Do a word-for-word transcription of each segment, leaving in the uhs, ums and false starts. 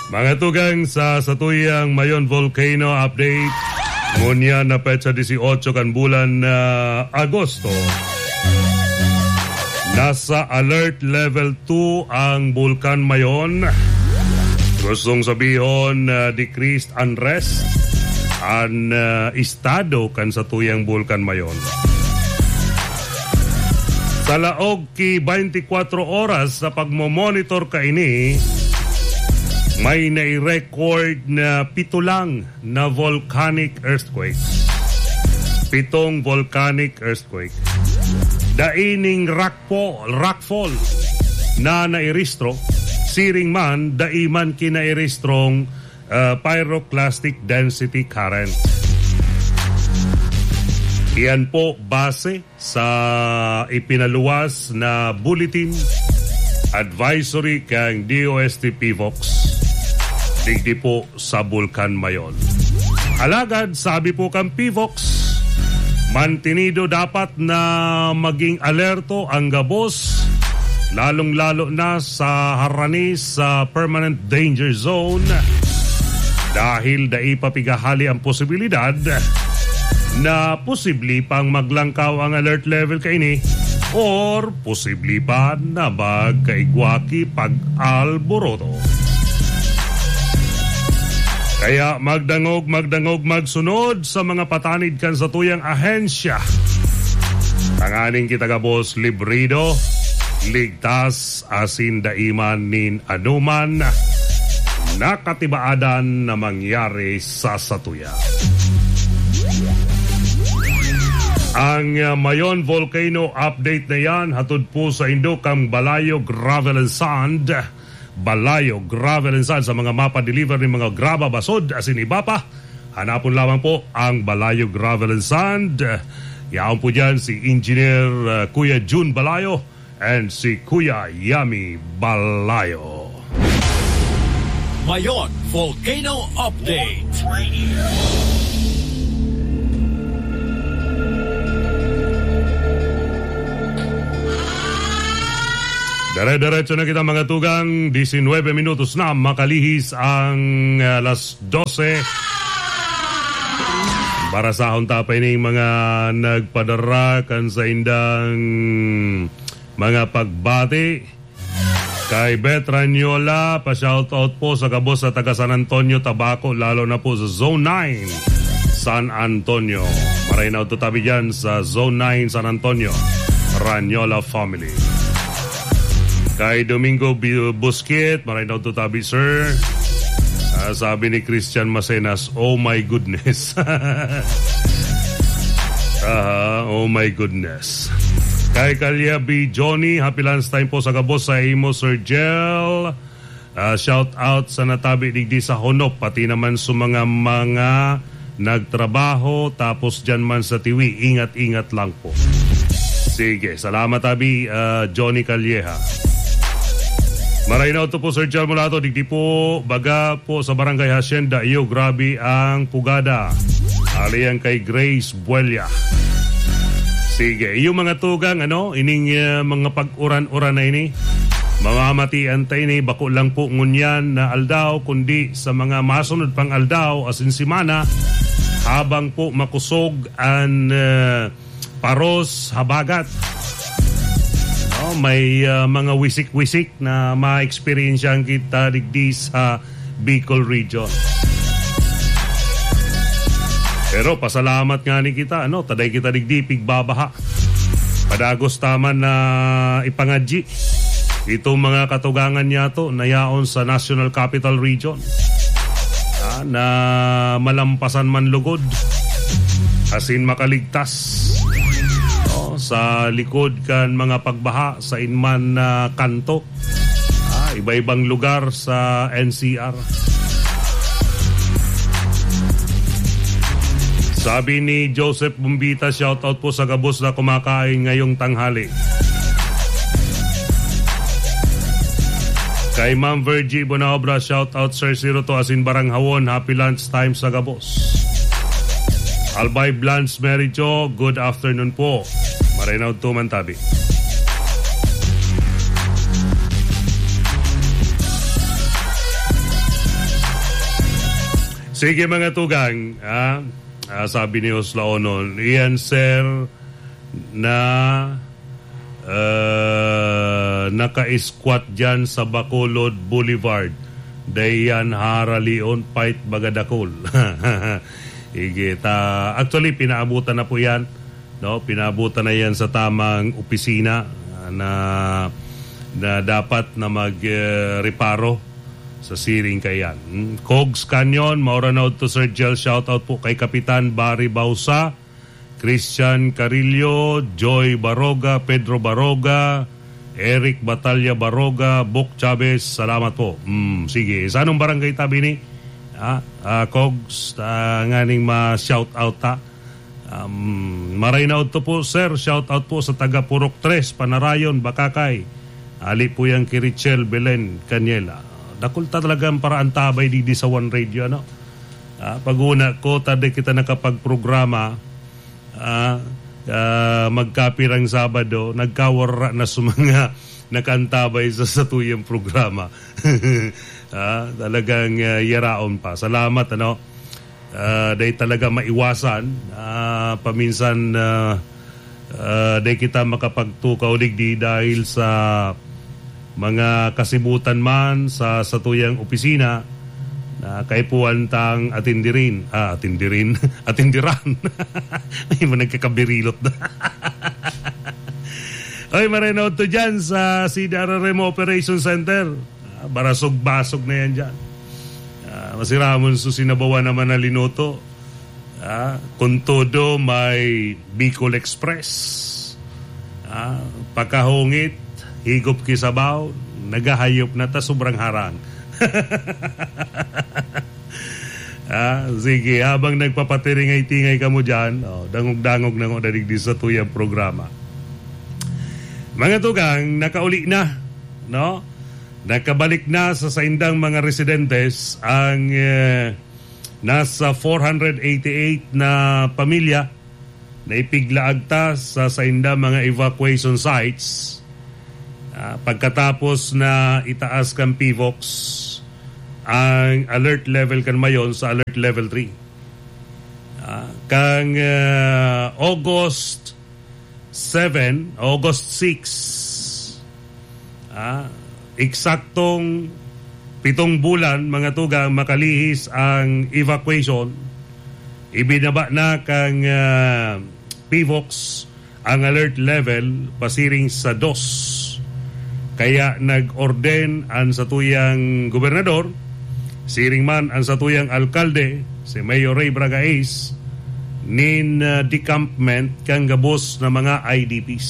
Mga tugang, sa satuyang Mayon Volcano Update, ngunyan na petsa dieciocho kan bulan na Agosto, nasa alert level two ang Bulkan Mayon. Gustong sabihon, ah, decreased unrest an, ah, estado kan satuyang Bulkan Mayon. Sa laog ki twenty-four oras sa pagmo-monitor kaini, may nai-record na pito lang na volcanic earthquake. Pitong volcanic earthquake. Dai ning rockfall, rockfall na nairehistro, siring man, dai man kinairehistrong, ah, pyroclastic density current. Iyan po base sa ipinaluwas na bulletin advisory kan D O S T PHIVOLCS digdi po sa Bulkan Mayon. Alagad, sabi po kan PHIVOLCS, mantenido dapat na maging alerto ang gabos, lalong-lalo na sa harani sa permanent danger zone, dahil dai pa pighahali ang posibilidad na posible pang maglangkaw ang alert level kaini or posible pa na magkaigwa ki pag-alboroto. Kaya magdangog, magdangog, magsunod sa mga patanid kan satuyang ahensya, tanganing kita gabos librido, ligtas, asin dai man nin anoman na katibaadan na mangyari sa satuya. Ang, ah, Mayon Volcano Update na yan, hatod po saindo kan Balayo Gravel and Sand. Balayo Gravel and Sand, sa mga mapa-deliver nin mga graba, basod, asin iba pa. Hanapon lamang po ang Balayo Gravel and Sand. Yaon po dyan si Engineer, ah, Kuya Jun Balayo and si Kuya Yami Balayo. Mayon Volcano Update. Dire-diretso na kita, mga tugang. Diecinuebe minutos na makalihis ang, ah, alas dose. Barasahon ta pa ining mga nagpadara kan saindang mga pagbati. Kay Beth Ranyola, pa-shoutout po sa gabos sa taga San Antonio, Tabaco, lalo na po sa Zone nine, San Antonio. Maray na udto tabi dyan sa Zone nine, San Antonio, Ranyola family. Kay Domingo Bi-, Busquet, maray na udto tabi, sir. Ah, sabi ni Christian Macenas, "Oh my goodness." Aha, "Oh my goodness." Kay Kalya B Johnny, happy lunch time po sa gabos sa imo, Sir Jel. Ah, shout out sa natabi digdi sa Honop, pati naman sa mga, mga nagtrabaho, tapos dyan man sa Tiwi, ingat-ingat lang po. Sige, salamat, abi, ah, Johnny Calleja. Maray na udto po, Sir Jel Mulato, digdi po, baga po sa Barangay Hacienda, iyo, grabe ang pugada. Aliyan kay Grace Buella. Sige, iyo mga tugang, ano, ining, ah, mga pag-uran-uran na ini, mamamatian ta ini, bako lang po ngunyan na aldaw, kundi sa mga masunod pang aldaw, asin semana, habang po makusog an, ah, paros habagat. No, may, ah, mga wisik-wisik na ma-experience kita digdi sa Bicol Region. Pero pasalamat ngani kita, ano, ta dai kita digdi pigbabaha. Padagos ta man na ipangadyi itong mga katugangan niyato na yaon sa National Capital Region, ah, na malampasan man lugod asin makaligtas, no, sa likod kan mga pagbaha sa inman na kanto. Ah, iba-ibang lugar sa N C R. Sabi ni Joseph Bumbita, "Shoutout po sa gabos na kumakain ngayong tanghali." Kay Ma'am Virgie Bonaobra, "Shoutout, Sir Siro, to asin Baranghawon. Happy lunch time sa gabos." Albay Blanche Mericho, good afternoon po. Maray na udto man tabi. Sige, mga tugang, ah, ah, sabi ni Oslaonon, iyan, sir, na, ah, naka-squat dyan sa Bacolod Boulevard. Dai yan haralion, fight baga dakul. Sige, ta, actually, pinaabutan na po yan. No? Pinabutan na yan sa tamang opisina, ah, na, na dapat na mag, eh, reparo sa siring kaiyan. Hmm, Cogs Canyon, maura na udto, Sir Jel. Shout out po kay Kapitan Barry Bausa, Christian Carillo, Joy Baroga, Pedro Baroga, Eric Batalla Baroga, Bok Chavez, salamat po. Hmm, sige, sa anong barangay tabi ni? Ah, ah, Cogs, ah, nganing ma-shout out ta. Um, maray na udto po, sir. Shout out po sa taga Purok Tres, Panarayon, Bakakay. Ali po yan ki Richel Belen Caniela. Dakul ta talagang paraantabay digdi sa One Radio, ano? Ah, pag-una ko, ta di kita nakapagprograma, ah, ah, magkapirang Sabado, nagkawara na sa mga nakaantabay sa satuyang programa. Ah, talagang, ah, yaraon pa. Salamat, ano? Ah, dai talaga maiwasan. Ah, paminsan, ah, ah, dai kita makapagtukaw digdi dahil sa mga kasibutan man sa satuyang opisina na kaipuhan tang atindirin, ah, atindirin, atindiran. May mga nagkakabirilot na. Oy, maray na udto dyan sa C D R R M Operation Center. Ah, barasog-basog na yan dyan. Ah, masiramon su sinabawan naman na linuto. Ah, kun todo, may Bicol Express. Ah, pakahungit, higop ki sabaw, nagahayop na ta, sobrang harang. Ah, sige, habang nagpapatiringay-tingay kamo dyan, oh, dangog-dangog na ngo dadig di sa tuyang programa. Mga tugang, nakauli na, no? Nakabalik na sa saindang mga residentes ang, eh, nasa four hundred eighty-eight na pamilya na ipiglaag ta sa sainda mga evacuation sites, ah, pagkatapos na itaas kan PHIVOLCS ang alert level kan Mayon sa alert level three. Ah, kang, ah, August seven, August six, ah, eksaktong pitong bulan, mga tugang, makalihis ang evacuation. Ibinaba na kang, ah, PHIVOLCS ang alert level pasiring sa dos. Kaya nag-orden an satuyang gobernador, siring man an satuyang alkalde, si Mayor Ray Bragais, nin, ah, decampment kan gabos na mga I D Ps.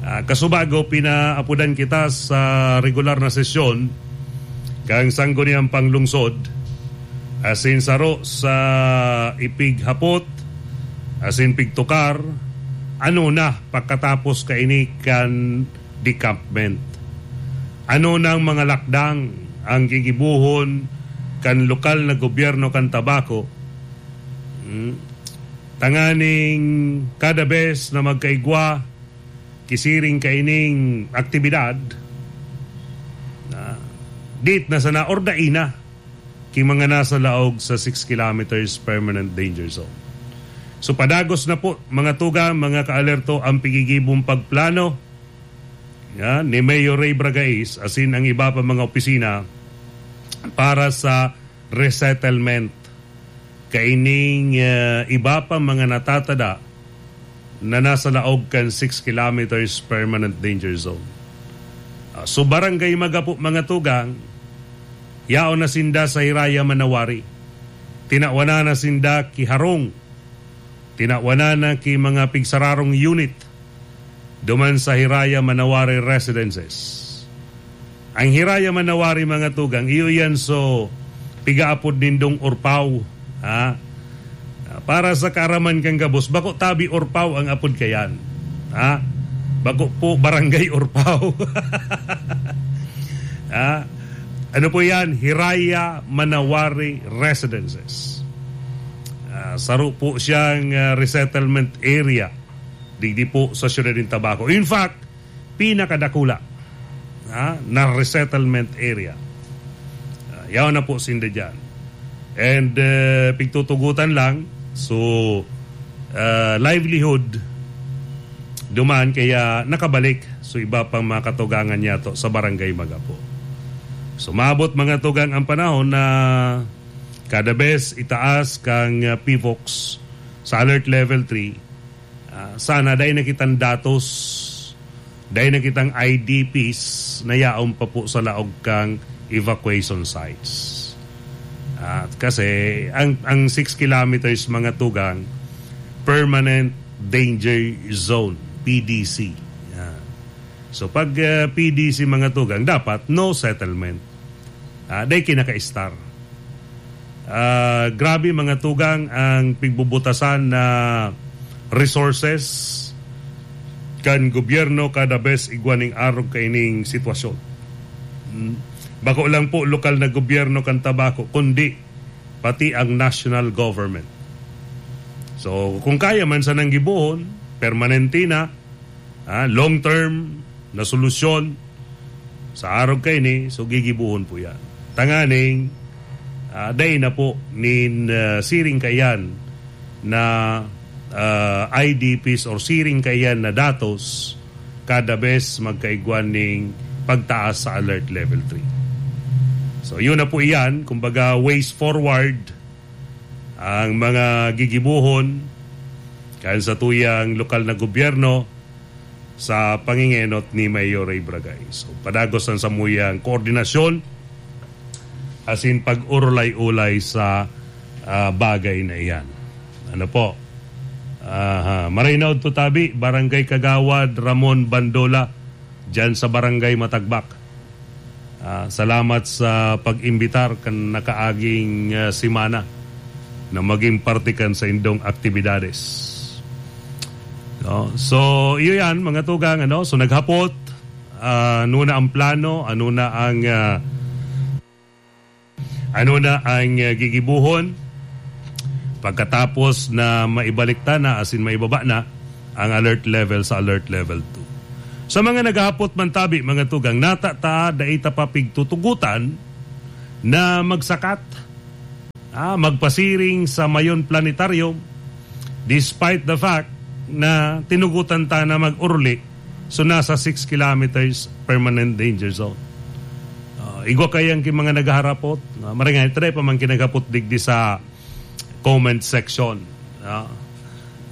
Ah, kasubago, pinaapodan kita sa regular na sesyon kan Sangguniang Panglungsod, asin saro sa ipighapot asin pigtukar, ano na pakatapos kaini kan decampment? Ano nang mga lakdang ang gigibohon kan lokal na gobyerno kan Tabaco? Hmm? Tanganing kada bes na magkaigwa ki siring kaining aktibidad, na dit na sana or dai na ki mga nasa laog sa six kilometers permanent danger zone. So, padagos na po, mga tugang, mga kaalerto, ang pigigibong pagplano, yan, ni Mayor Ray Bragais asin ang iba pa mga opisina para sa resettlement kaining, ah, iba pa mga natatada na nasa laog kan six kilometers permanent danger zone. Ah, so, Barangay Magapo, mga tugang, yaon na sinda sa Hiraya Manawari. Tinawanan na sinda ki harong. Tinawanan na ki mga pigsararong unit duman sa Hiraya Manawari Residences. Ang Hiraya Manawari, mga tugang, iyo yan so pigaapod nindong Urpaw, ha? Para sa kaaraman kan gabos, bako tabi Urpaw ang apod kayan, ha? Bako po Barangay Urpaw. Ha? Ano po yan? Hiraya Manawari Residences. Ah, saro po siyang, ah, resettlement area digdi po sa siyudad nin Tabaco. In fact, pinakadakula, ha, na resettlement area. Ah, yaon na po sinda dyan. And, uh, pigtutugutan lang. So, uh, livelihood duman kaya nakabalik. So, iba pang mga katugangan niya to sa Barangay Magapo. So, maabot mga tugang ang panahon na kada bes itaas kang, uh, PHIVOLCS sa Alert Level three, ah, sana dai na kitang datos, dai na kitang I D Ps na yaon pa po sa laog kang evacuation sites. Ah, kasi ang, ang six kilometers, mga tugang, permanent danger zone, P D C. Yan. So, pag, ah, P D C, mga tugang, dapat no settlement. Ah, dai kinakaistar. Ah, grabe, mga tugang, ang pigbubutasan na resources kan gobyerno kada bes igwa ning arog kaining sitwasyon. Hmm. Bako lang po lokal na gobyerno kan Tabaco, kundi pati ang national government. So, kung kaya man sanang gibohon, permanente na, ah, long term na solusyon sa arog kaini, so gigibohon po yan. Tanganing, ah, dai na po nin, ah, siring kaiyan na, ah, I D Ps or siring kaiyan na datos kada bes magkaigwa ning pagtaas sa Alert Level three. So, yun na po iyan. Kumbaga, ways forward ang mga gigibohon kan satuyang lokal na gobyerno sa pangingenot ni Mayor Ray Bragay. So, padagos ang samuyang koordinasyon asin pag-urulay-ulay sa, ah, bagay na iyan. Ano po? Aha. Maray na udto tabi, Barangay Kagawad Ramon Bandola, dyan sa Barangay Matagbak. Ah, salamat sa pag-imbitar kan nakaaging, ah, semana na maging parte kan saindong aktibidades. No? So, iyo yan, mga tugang, ano? So, naghapot, ah, ano na ang plano, ano na ang, ah, ano na ang, ah, gigibohon pagkatapos na maibalik ta na, asin maibaba na ang alert level sa alert level two. Sa mga naghahapot man tabi, mga tugang, nata ta dai ta pa pigtutugotan na magsakat, ah, magpasiring sa Mayon Planetarium, despite the fact na tinugotan ta na mag-uruli, so nasa six kilometers permanent danger zone. Ah, igwa kayang ki mga naghaharapot, ah, maray nga, ito na pa man kinaghapot digdi sa comment section. Ah,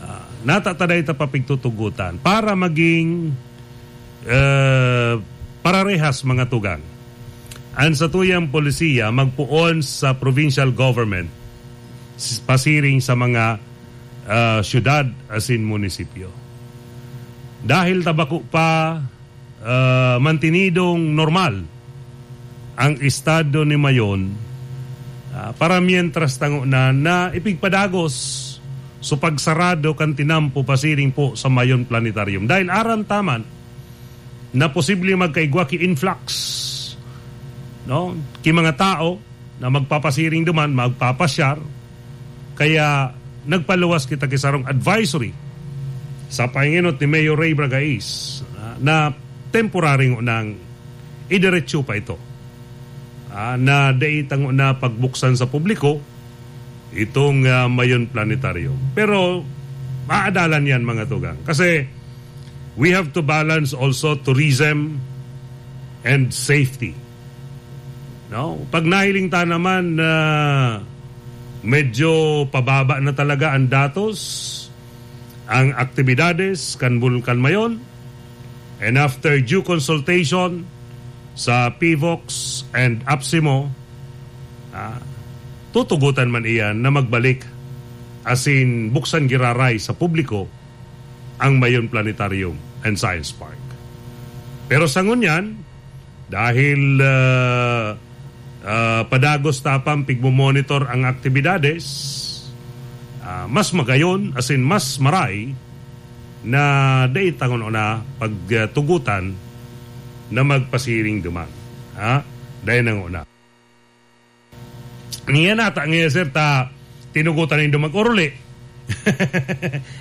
ah, nata ta dai ta pa pigtutugotan para maging, eh, pararehas, mga tugang. Ang satuyang polisiya magpoon sa provincial government s-, pasiring sa mga, ah, syudad asin munisipyo. Dahil ta bako pa, ah, mantinidong normal ang estado ni Mayon, ah, para mientras tango na, na ipigpadagos so pagsarado kan tinampo pasiring po sa Mayon Planetarium. Dahil aram ta man na posible magkaigwa ki influx, no? Ki mga tao na magpapasiring duman, magpapasyar, kaya nagpaluwas kita ki sarong advisory sa pangenot ni Mayor Ray Bragais, ah, na temporary ngunang idiretso pa ito, ah, na dai ta nguna pagbuksan sa publiko itong, ah, Mayon Planetarium. Pero maadalan yan, mga tugang. Kasi we have to balance also tourism and safety. No? Pag nahiling ta naman na medyo pababa na talaga ang datos, ang aktibidades kan Bulkan Mayon, and after due consultation sa PHIVOLCS and APSEMO, ah, tutugotan man iyan na magbalik asin buksan giraray sa publiko ang Mayon Planetarium and Science Park. Pero sa ngunyan, dahil, ah, ah, padagos ta pang pigmomonitor ang aktibidades, ah, mas magayon, asin mas maray na dai ta nguna pagtugotan na magpasiring duman. Ha? Dai na nguna. Niya nata, nga, sir, ta tinugotan nindo mag-oruli.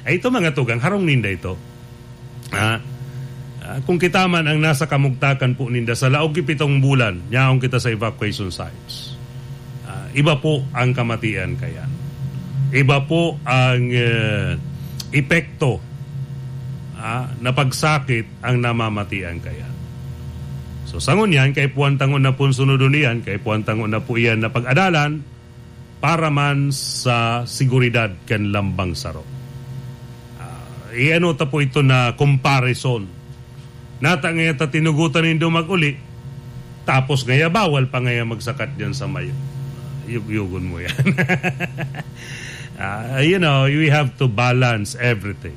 Ay, ito, mga tugang, harong ninda ito. Ah, ah, kung kita man ang nasa kamugtakan po ninda, sa laog ki pitong bulan, yaon kita sa evacuation sites. Ah, Iba po ang kamatian kaya. Iba po ang, eh, epekto, ah, na pagsakit ang namamatian kaya. So, sa ngunyan, kaipuhan ta ngona pon sunodon iyan, kaipuhan ta ngona po iyan na pag-adalan para man sa seguridad kan lambang saro. Ah, i-ano ta po ito na comparison. Nata ngaya ta tinugotan nindo mag-uli, tapos ngaya bawal pa ngaya magsakat diyan sa mayo. Yugyugon mo yan. Ah, you know, we have to balance everything.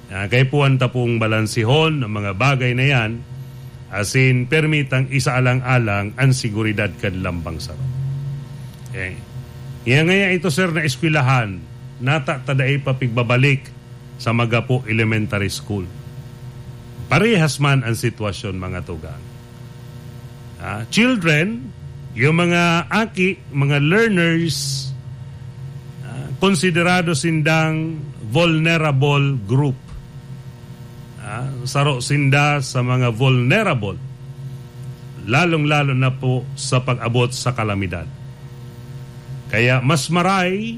Ah, kaipuhan ta pong balansihon ang mga bagay na yan, asin permitang isaalang-alang ang seguridad kan lambang saro. Okay. Ngaya, ngaya ito, sir, na eskwelahan, nata ta dai pa pigbabalik sa Magapo Elementary School. Parehas man ang sitwasyon, mga tugang. Ah, children, yung mga aki, mga learners, ah, konsiderado sindang vulnerable group. Ah, saro sinda sa mga vulnerable, lalong-lalo na po sa pag-abot sa kalamidad. Kaya mas maray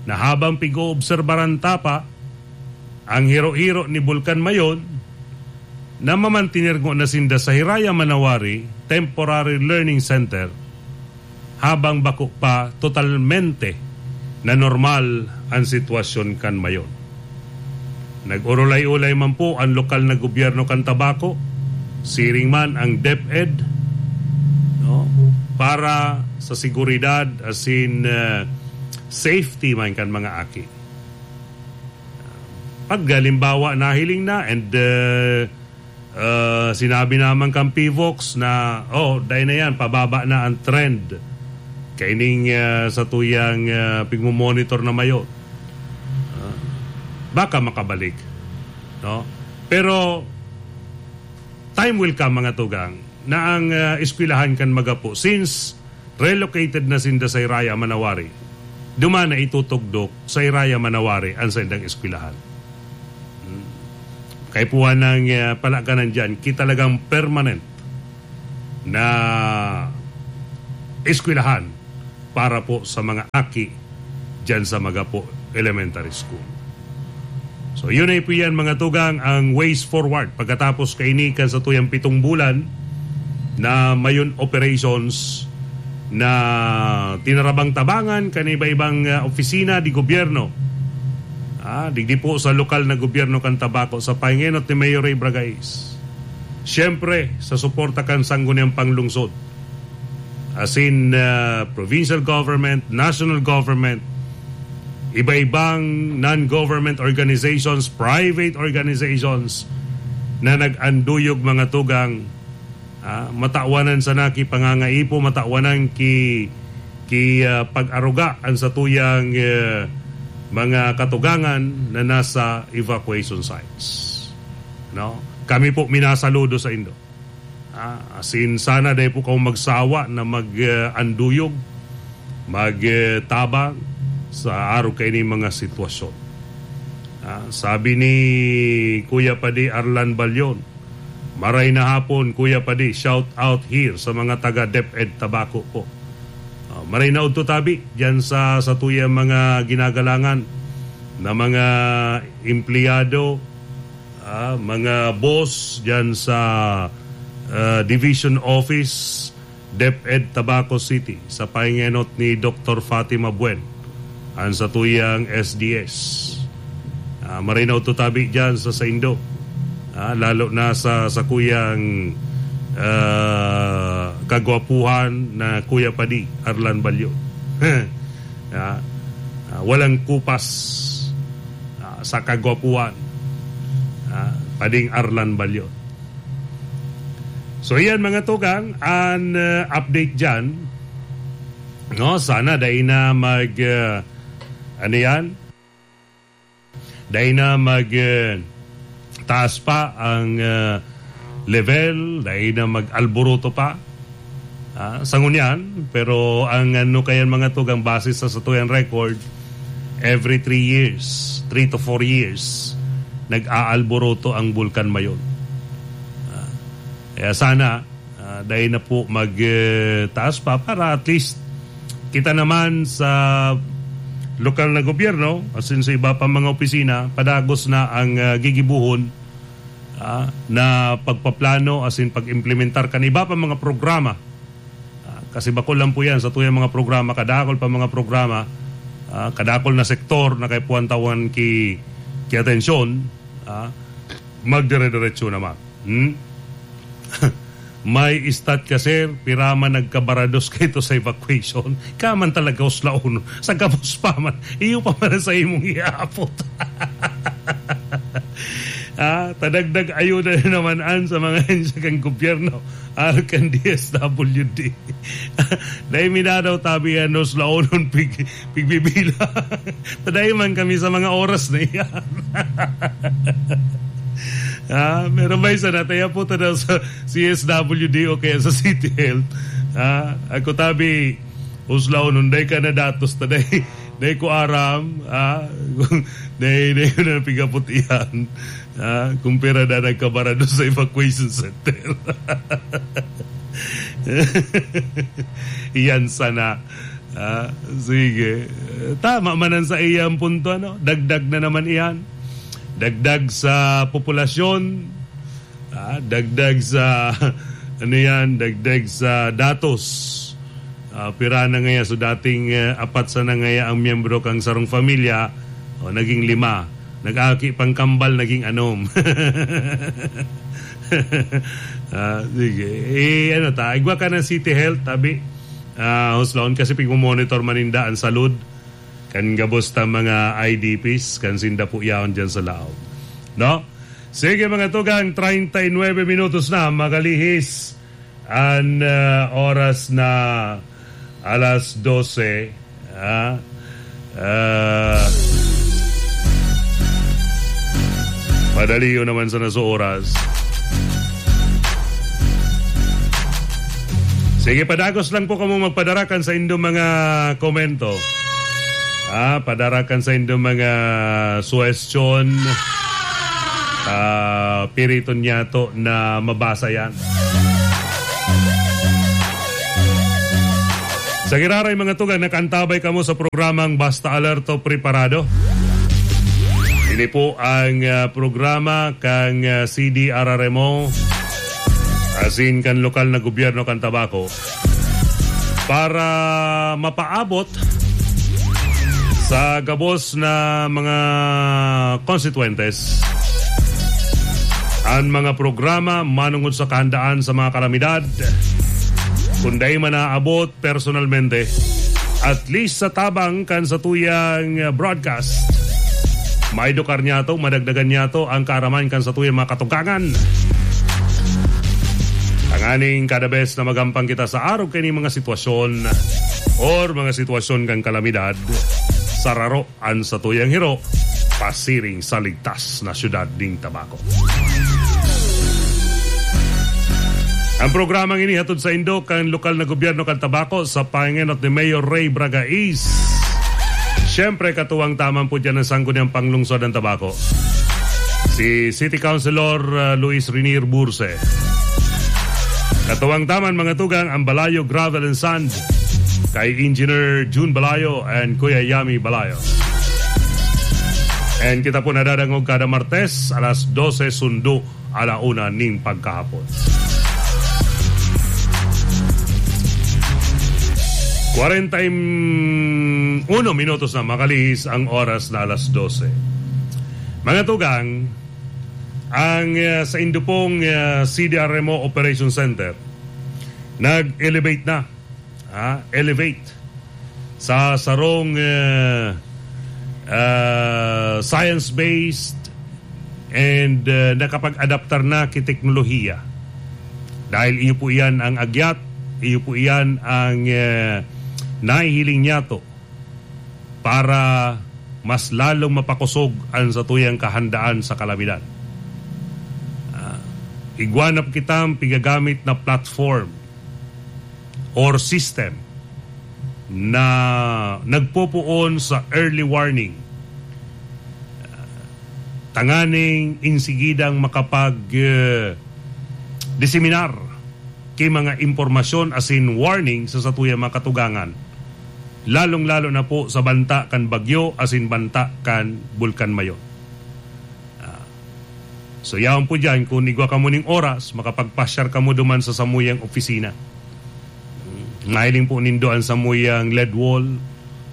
na habang pig-oobserbaran ta pa ang hiro-hiro ni Bulkan Mayon, na mamantener ngona sinda sa Hiraya Manawari Temporary Learning Center, habang bako pa totalmente na normal ang sitwasyon kan Mayon. Nag-urulay-ulay man po ang lokal na gobyerno kan Tabaco, siring man ang DepEd, no, para sa seguridad asin, eh, safety man kan mga aki. Pag halimbawa, nahiling na and, eh, ah, sinabi naman kan PHIVOLCS na, "Oh, dai na yan, pababa na ang trend kaining, ah, satuyang, ah, pigmo-monitor na mayo." Ah, baka makabalik, no? Pero time will come, mga tugang, na ang, ah, eskwelahan kan Magapo, since relocated na sinda sa Hiraya Manawari, duman na itutugdok sa Hiraya Manawari ang saindang eskwelahan. Hmm. Kaipuhan ng, ah, palakanan dyan, kita talagang permanent na eskwelahan para po sa mga aki dyan sa Magapo Elementary School. So, yun ay po yan, mga tugang, ang ways forward pagkatapos kaini kan satuyang pitong bulan na Mayon operations na tinarabang-tabangan kan iba-ibang, ah, opisina di gobyerno. Ah, digdi po sa lokal na gobyerno kan Tabaco sa pahingenot ni Mayor Ray Bragais. Siyempre, sa suporta kan Sangguniang Panglungsod. As in, ah, provincial government, national government, iba-ibang non-government organizations, private organizations na nag-anduyog, mga tugang, ah, matawanan sana ki pangangaipo, matawanan ki, ki, ah, pag-aruga an satuyang, eh, mga katugangan na nasa evacuation sites. No? Kami po minasaludo sa indo. Ah, as in, sana dai po kamo magsawa na mag, ah, anduyog, mag, ah, tabang sa arog kaini mga sitwasyon. Ah, sabi ni Kuya Padi Arlan Balyon, "Maray na hapon, Kuya Padi, shout out here sa mga taga DepEd Tabaco po." Ah, maray na udto tabi diyan sa, sa tuyang mga ginagalangan na mga empleyado, ah, mga boss diyan sa, ah, Division Office, DepEd Tabaco City, sa pahingenot ni Doktor Fatima Buen, ang satuyang S D S. Ah, maray na udto tabi diyan sa saindo. Ah, lalo na sa, sa kuyang, ah, kagwapuhan na Kuya Padi, Arlan Balyo. Ah, ah, walang kupas, ah, sa kagwapuhan, ah, Pading Arlan Balyo. So, yan, mga tugang, an, uh, update dyan. No, sana dai na mag, uh, ano yan? Dai na mag, uh, taas pa ang, uh, level, dai na mag-alboroto pa. Ah, sa ngunyan, pero ang ano kayan, mga tugang, base sa satuyang record, every three years, three to four years, nag-aalboroto ang Bulkan Mayon. Ah, kaya sana, ah, dai na po mag, eh, taas pa para at least Kita naman sa lokal na gobyerno, asin sa iba pa mga opisina, padagos na ang, ah, gigibohon, ah, na pagpaplano asin pag-implementar kan iba pa mga programa. Ah, kasi bako lang po yan, sa tuyang mga programa, kadakol pa mga programa, ah, kadakol na sektor na kaipuhan tawan ki, ki atensyon, ah, magdire-diretso naman. Hmm? May stat ka, sir? Pira man nagkabarados kaito sa evacuation? Ka man talaga uslaon. Sa gabos pa man, iyo pa man sa imong ihaapot. Ah, tadagdag ayuda na naman an sa mga ahensya kan gobyerno, arog kan D S W D. Dai mi daw tabi an uslaonon pig-, pigbibila. Tadayo man kami sa mga oras na iyan. Ah, pero may sana, tayo po ta daw sa C S W D o kaya sa City Health. Ah, ako tabi, uslaw, nung day ka na datos ta, day, day ko aram, ah, day, day ko na pigapot iyan. Ah, kung pira na nagkabarado sa evacuation center. Iyan sana. Ah, sige. Tama man ang sa iyang punto, ano? Dagdag na naman iyan. Dagdag sa populasyon. Ah, dagdag sa, ano yan? Dagdag sa datos. Ah, pira na ngaya? So, dating, eh, apat sana ngaya ang miyembro kang sarong pamilya, o, naging lima. Nag-aki pang kambal, naging anom. Ah, sige. Eh, ano ta? Igwa ka ng City Health, tabi. Ah, huslaon kasi pigmo-monitor maninda ang salud kan gabos ta mga I D Ps, kan sinda po yaon dyan sa laog. No? Sige, mga tugang, treinta y nueve minutos na, makalihis an, ah, oras na alas dose. Ah, ah, madali yun naman sana sa oras. Sige, padagos lang po kamo magpadarakan sa indong mga komento. Ah, padarakan sa indong mga suwestyon. Ah, piriton niyato na mabasa yan. Sa giraray, mga tugang, nakaantabay kamo sa programang Basta Alerto, Preparado. Ini po ang, ah, programa kang, ah, C D R R M O, asin kan lokal na gobyerno kan Tabaco, para mapaabot sa gabos na mga konstituyentes an mga programa manongod sa kahandaan sa mga kalamidad. Kung dai man naabot personalmente, at least sa tabang kan satuyang broadcast, maedukar niyato, madagdagan niyato ang kaaraman kan satuyang mga katugangan. Tanganing kada bes na magampang kita sa arog kaining mga sitwasyon or mga sitwasyon kan kalamidad, sararo an satuyang hiro pasiring sa ligtas na siyudad nin Tabaco. Ang programang ini hatod saindo kan lokal na gobyerno kan Tabaco sa pangenot ni Mayor Ray Bragais. Siyempre, katuwang taman po dyan ang Sangguniang Panglungsod ng Tabaco, si City Councilor, ah, Luis Rinier Burse. Katuwang taman, mga tugang, ang Balayo Gravel and Sand kay Engineer Jun Balayo and Kuya Yami Balayo. And kita po nadadangog kada Martes, alas dose sundo ala una nin pagkahapon. Kwarenta y uno minutos na makalihis ang oras na alas dose. Mga tugang, ang, ah, sa indupong, ah, C D R M O Operation Center, nag-elevate na, ah, elevate sa sarong, ah, ah, science-based and, ah, nakapag-adaptar na ki teknolohiya. Dahil iyo po iyan ang agyat, iyo po iyan ang, ah, nahihiling niyato para mas lalong mapakosog an satuyang kahandaan sa kalamidad. Ah, igwa na kitang pigagamit na platform or system na nagpopoon sa early warning. Tanganing insigidang makapag, eh, diseminar ki mga impormasyon asin warning sa satuyang mga katugangan. lalong-lalo na po sa banta kan bagyo asin banta kan Bulkan Mayon. Ah, so, yaon po diyan, kung igwa kamo ning oras, makapagpasyar kamo duman sa samuyang opisina. Mahiling po nindo an samuyang lead wall,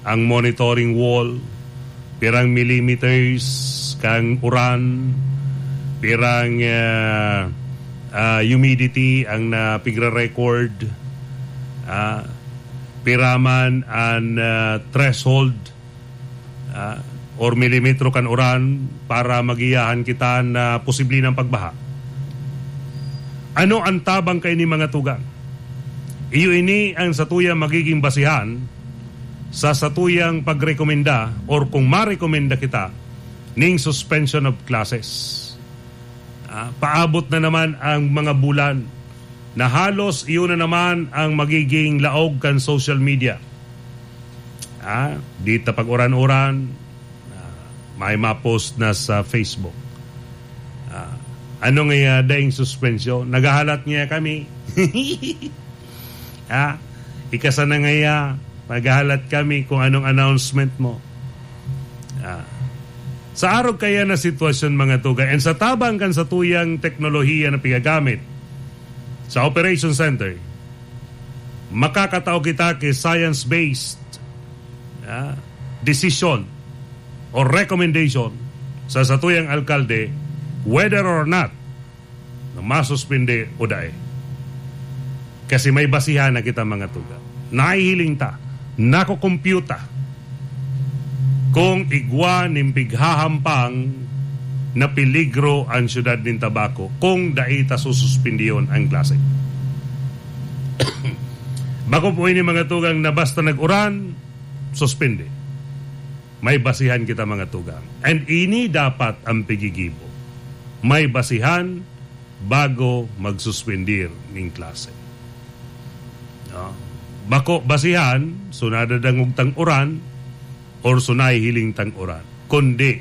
ang monitoring wall, pirang millimeters kan uran, pirang, ah, ah, humidity ang napigre-record, ah, pira man an, ah, threshold, ah, or milimetro kan uran para magiyahan kita na posible ng pagbaha. Ano ang tabang kaini, mga tugang? Iyo ini ang satuyang magiging basihan sa satuyang pagrekomenda or kung marekomenda kita ning suspension of classes. Ah, paabot na naman ang mga bulan na halos iyon na naman ang magiging laog kan social media. Ah, di ta pag-uran-uran, ah, may ma-post na sa Facebook. Ah, ano nga, ah, daing suspensyon? Naghahalat nga kami. Ah, ika sana ngaya, maghahalat kami kung anong announcement mo. Ah, sa arog kaya na sitwasyon, mga tugang, and sa tabang kan satuyang teknolohiya na pigagamit sa Operation Center, makakatao kita ki science-based, ah, decision o recommendation sa satuyang alkalde, whether or not na masuspindi o dai. Kasi may basihan na kita, mga tugang. Nahihiling ta, nakukumpyuta kung igwa nin pighahampang na peligro an siyudad nin Tabaco kung dai ta sususpindiyon ang klase. Bako po ini, mga tugang, na basta nag-uran, suspindi. May basihan kita, mga tugang. And ini dapat ang pigigibo. May basihan bago magsuspendir ning klase. No? Bako basihan, so nadadangog tang uran or so nahihiling tang uran. Kundi,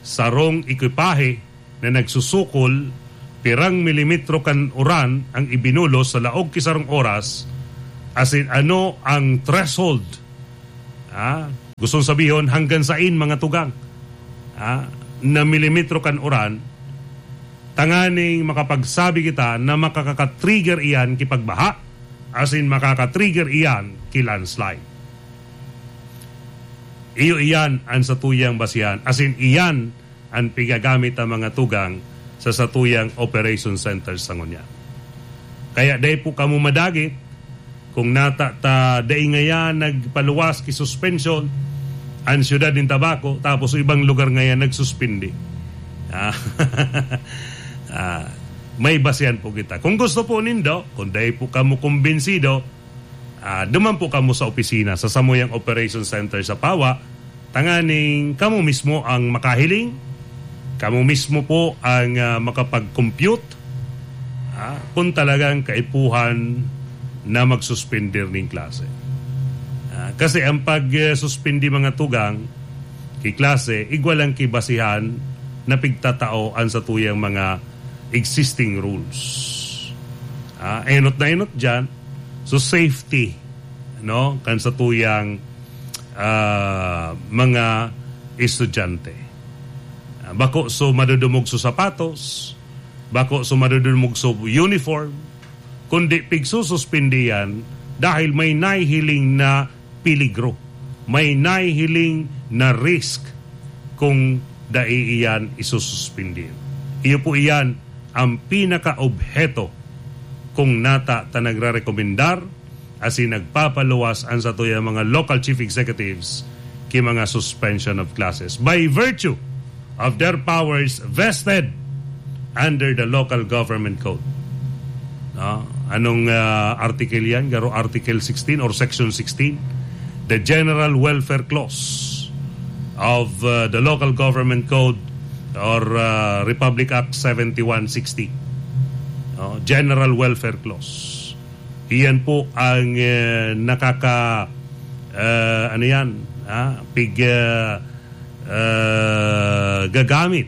sarong ekipahe na nagsusukol, pirang milimetro kan uran ang ibinulos sa laog ki sarong oras, asin ano ang threshold. Ah, gustong sabihon, hanggang sain, mga tugang, ah, na milimetro kan uran, tanganing makapagsabi kita na makakaka-trigger iyan ki pagbaha, asin makaka-trigger iyan ki landslide. Iyo iyan an satuyang basihan, asin iyan an pigagamit ta, mga tugang, sa satuyang operation center sa ngunyan. Kaya dai po kamo madagit kung nata ta dai ngaya nagpaluwas ki suspension an siyudad nin Tabaco, tapos sa ibang lugar ngaya nagsuspindi. Ah, ah, may basihan po kita. Kung gusto po nindo, kung dai po kamo kumbinsido, ah, duman po kamo sa opisina, sa samuyang operation center sa Pawa, tanganing kamo mismo ang makahiling, kamo mismo po ang, ah, makapag-compute, ah, kung talagang kaipuhan na magsuspender ning klase. Ah, kasi ang pag, eh, suspindi, mga tugang, ki klase, igwa lang ki basihan na pigtatao an satuyang mga existing rules. Ah, enot na enot diyan, so safety, no, kan satuyang, ah, mga estudyante. Ah, bako so madudumog so sapatos, bako so madudumog so uniform, kundi pigsususpindi yan dahil may nahihiling na peligro, may nahihiling na risk kung dai iyan isususpindi. Iyo po iyan ang pinaka-obheto kung nata ta nagrerekomendar asin nagpapaluwas an satuyang mga local chief executives ki mga suspension of classes by virtue of their powers vested under the Local Government Code. No? Anong, ah, article yan? Garo Article sixteen or Section sixteen? The General Welfare Clause of, ah, the Local Government Code or, ah, Republic Act seventy-one sixty. No? General Welfare Clause. Iyan po ang, eh, nakaka-, eh, ano yan, ah, pig-, eh, eh, gagamit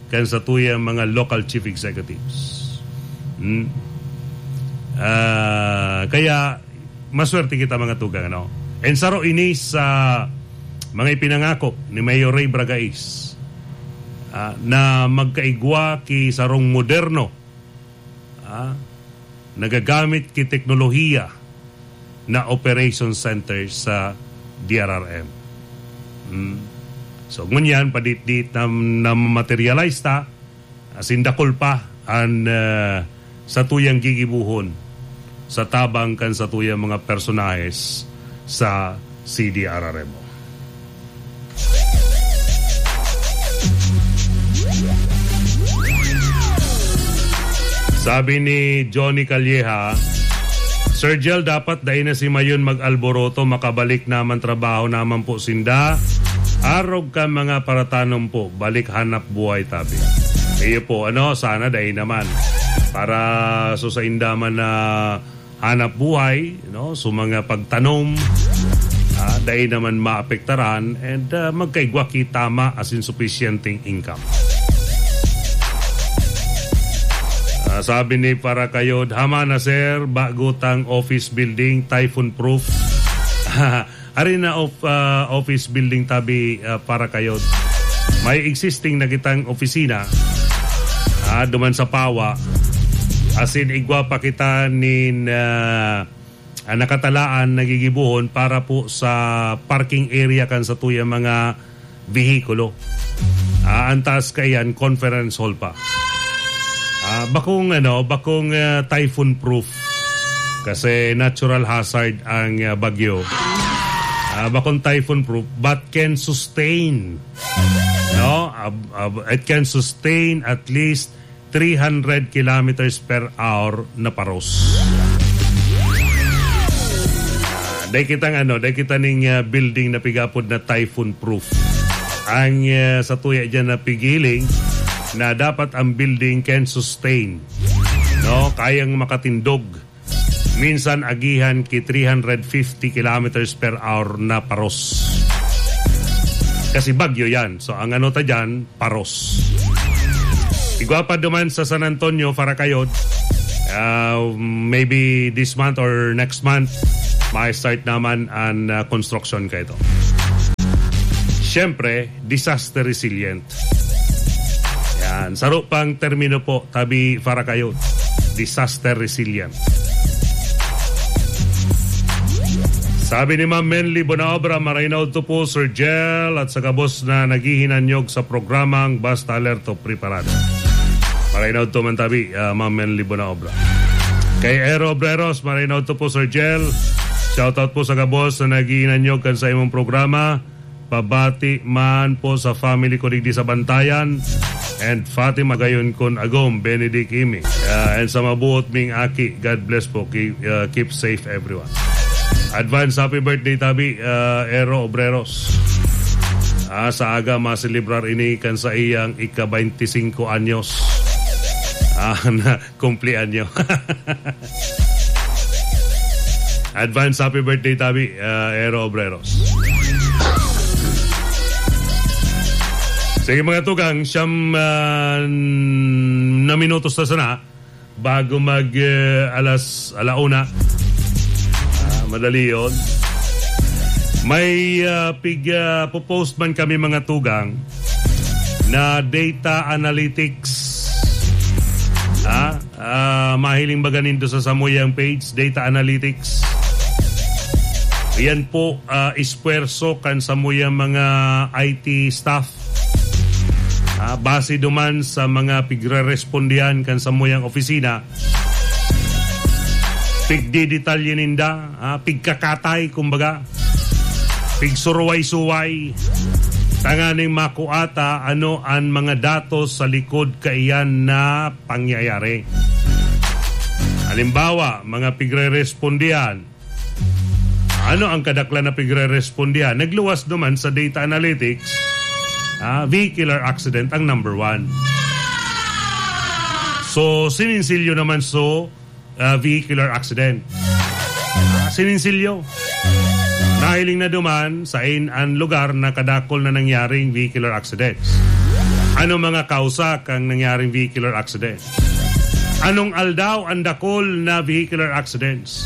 kan satuyang mga local chief executives. Hmm. Ah, kaya maswerte kita, mga tugang, ano? And saro ini sa mga ipinangako ni Mayor Ray Bragais, ah, na magkaigwa ki sarong moderno, ah, nagagamit ki teknolohiya na operation center sa D R R M. Hmm. So, ngunyan, padit-dit na, na materialize ta, asin dakul pa an, ah, satuyang gigibohon sa tabang kan satuyang mga personahes sa C D R R M O. Sabi ni Johnny Calleja, "Sir Jel, dapat dai na si Mayon mag-alboroto, makabalik naman trabaho naman po sinda. Arog kan mga paratanom po, balik hanap buhay tabi." Iyo po, ano, sana dai naman. Para so sa inda man na hanap buhay, no? So, mga pagtanom, ah, dai naman maapektaran and, ah, magkaigwa ki tama asin supisyenteng income. Ah, sabi ni Parakayod, "Hama na, sir, bago tang office building, typhoon proof." Ari na of, ah, office building tabi, ah, Parakayod. May existing na kitang opisina, ah, duman sa Pawa. Asin igwa pa kita nin, ah, ah, nakatalaan, nagigibohon para po sa parking area kan satuyang mga behikulo. Ah, ang taas kaiyan, conference hall pa. Ah, bakong, ano, bakong, ah, typhoon proof. Kasi natural hazard ang, ah, bagyo. Ah, bakong typhoon proof, but can sustain, no? Ab-, ab-, it can sustain at least three hundred kilometers per hour na paros. Ah, dai kitang, ano, dai kita ning, ah, building na pigapod na typhoon proof. Ang, ah, satuya diyan na pighiling na dapat ang building can sustain, no? Kayang makatindog. Minsan agihan ki three hundred fifty kilometers per hour na paros. Kasi bagyo yan. So, ang ano ta dyan, paros. Igwa pa duman sa San Antonio, Faracayod, ah, maybe this month or next month, ma-start naman ang, ah, construction kaito. Siyempre, disaster resilient. Yan. Saro pang termino po, tabi Faracayod. Disaster resilient. Sabi ni Ma'am Menly Bonaobra, "Maray na udto po, Sir Jel, at sa gabos na naghihinanyog sa programang Basta Alerto, Preparado." Maray na udto man tabi, ah, Ma'am Menly Bonaobra. Kay Ero Obreros, maray na udto po, Sir Jel. Shoutout po sa gabos na naghihinanyog kan sa imong programa. Pabati man po sa family ko digdi sa Bantayan and Fatima gayon kun agom, Benedict Imi. Ah, and sa mabuot ming aki, God bless po. Keep, ah, keep safe everyone. Advance happy birthday tabi, ah, Ero Obreros. Ah, sa aga maselebrar ini kan sa iyang ika-baynti singko anyos. Ah, na, kumpleanyo. Advance happy birthday tabi, ah, Ero Obreros. Sige, mga tugang, siyam, ah, na minutos na sana bago mag, ah, alas, ala una. Ah, madali yon. May, ah, pig, ah, popost man kami, mga tugang, na data analytics. Ah, ah, mahiling baga nindo sa samuyang page, data analytics. Yan po, ah, espuwerso kan samuyang mga I T staff. Ah, base duman sa mga pigrerespondihan kan samuyang opisina, pigdidetalye ninda, ah, pigkakatay, kumbaga. Pigsuruway-suway, tanganing makua ta ano an mga datos sa likod kaiyan na pangyayari. Halimbawa, mga pigrerespondihan, ano ang kadaklan na pigrerespondihan? Nagluwas naman sa data analytics, ah, vehicular accident ang number one. So, sininsilyo naman so ah, vehicular accident. Ah, sininsilyo. Nahiling na duman sa in an lugar na kadakol na nangyaring vehicular accidents. Ano mga kausa kan nangyaring vehicular accident? Anong aldaw ang dakol na vehicular accidents?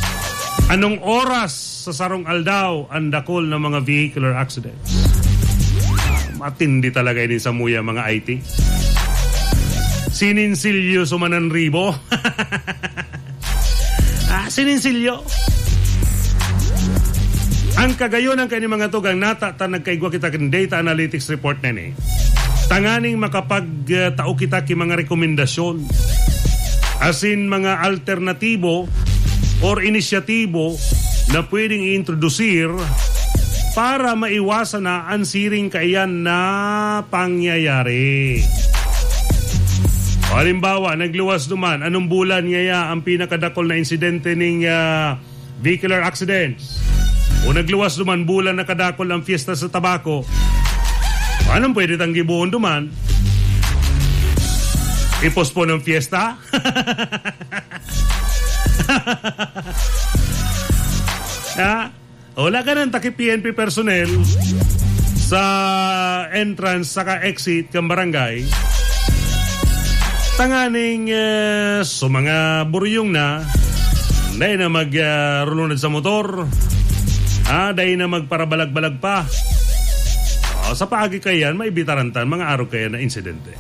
Anong oras sa sarong aldaw ang dakul na mga vehicular accidents? Matindi talaga ini samuya, mga I T. Sininsilyo sumanan ribo. Ah, sininsilyo. Ang kagayon ang kani mga tugang nata ta nagkaigwa kita kan data analytics report na ni. Tanganing makapag, ah, tao kita ki mga rekomendasyon. Asin mga alternatibo or inisyatibo na pwedeng i-introdusir para maiwasan na ang siring kaiyan na pangyayari. O halimbawa, nagluwas duman, anong bulan ngaya ang pinakadakol na insidente ning, ah, vehicular accidents? O nagluwas duman, bulan na kadakol ang fiesta sa tabako? Anong pwede tang gibohon duman? I-postpone ang fiesta? Ha? Wala ka nang taki P N P personnel sa entrance saka exit kan barangay. Tanganing, eh, so mga buryong na, dai na mag, ah, rulunod sa motor. Ah, dai na magparabalag-balag pa. Oh, sa paagi kayan, may bitarantan, mga arog kayan na insidente.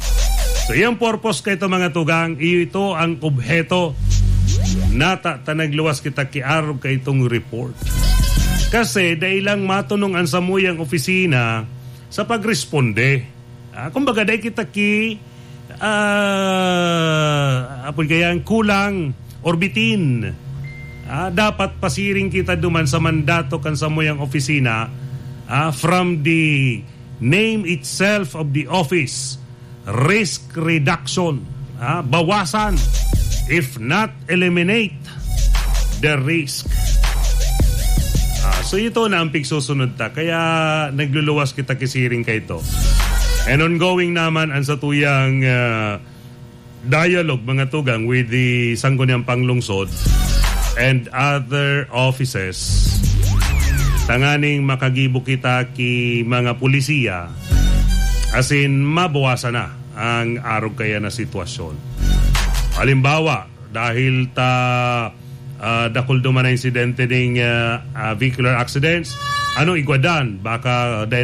So, iyang purpose kay ito, mga tugang, iyo ito ang obheto. Nata ta nagluwas kita ki arog kay itong report. Kasi dai lang matunong ang samuyang opisina sa pagresponde. Ah, kumbaga, dai kita ki, ah, apod kaya ang kulang or bitin. Ah, dapat pasiring kita duman sa mandato kan samuyang opisina, ah, from the name itself of the office, risk reduction, ah, bawasan, if not eliminate the risk. Ah, so ito na ang pigsusunod ta, kaya nagluluwas kita kisiring kaito. And ongoing naman ang satuyang, ah, dialogue, mga tugang, with the Sangguniang Panglungsod and other offices, tanganing makagibo kita ki mga pulisiya, asin mabawasan na ang arog kaya na sitwasyon. Halimbawa, dahil ta, ah, dakul duman na insidente ning, ah, ah, vehicular accidents, ano igwadan? Baka dahil